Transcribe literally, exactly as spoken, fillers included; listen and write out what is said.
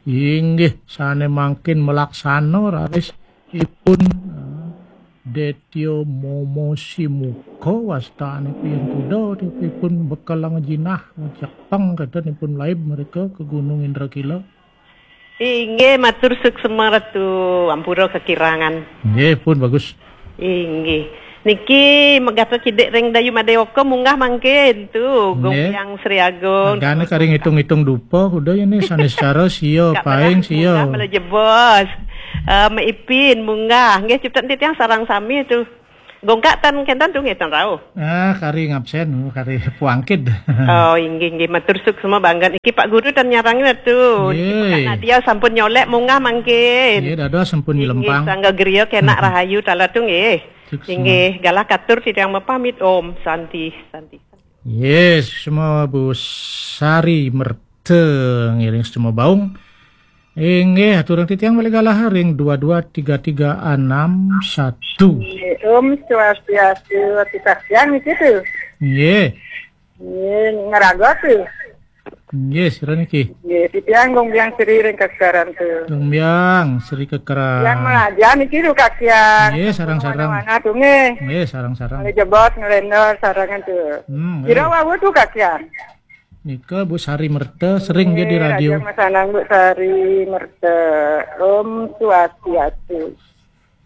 Inggih, sane mangkin melaksana raris ipun, eh, Detya Mama Simuka wastane pian kuda, ipun bekelang jinah, Jepang, kadanipun laib mereka ke Gunung Indrakila. Inggih, matur suksma Ratu, ampura kekirangan. Nggih, pun bagus. Inggih. Niki megapa kidik ring Dayu Madewaka munggah mangkin tu, Gung Nggih. Hyang Sri Agung. Agane kari ngitung-ngitung dupa, kuda ya ni sane secara sia, Kak paing Perah sia. Munggah mele jebos. Eh, Mek Ipin munggah. Nggih, cipta titiang sareng sami tu. Gongkak tan kenten tu nggih tan rauh. Ah, kari ngabsen, kari puangkid. Oh, inggih, inggih. Matur suksma banget. Niki Pak Guru tan nyarang tu. Niki Nggih. Pak Nadia sampun nyolek munggah mangkin. Nggih, dados sampun Inggih, nyelempang. Sangga griya kenak rahayu tala tu nggih. Suksma. Inggih, galah katur titiang mapamit. Om Santi, Santi. Yes, semua Bu Sari Merta ngiring semua baung. Inggih, aturang titiang malih galah ring dua dua tiga tiga enam satu. Nggih, Om Swastiastu, ati kasihan niki tu. Nggih. Nggih, ngeraga tu. Nggih, sira niki. Nggih, titiang Gung Biang Sri ring Kekeran tu. Gung Biang Sri Kekeran. Yang melajar niki tu kasihan. Nggih, sarang-sarang. Mana-mana tu nggih. Nggih, sarang-sarang. Nggih, jebos ngelendor sarangan tu. Hmm, Kira nggih. Wau tu kasihan. Nika Bu Sari Merta sering dia di Nggih, radio. Raja Masanang Bu Sari Merta. Om Swastiastu.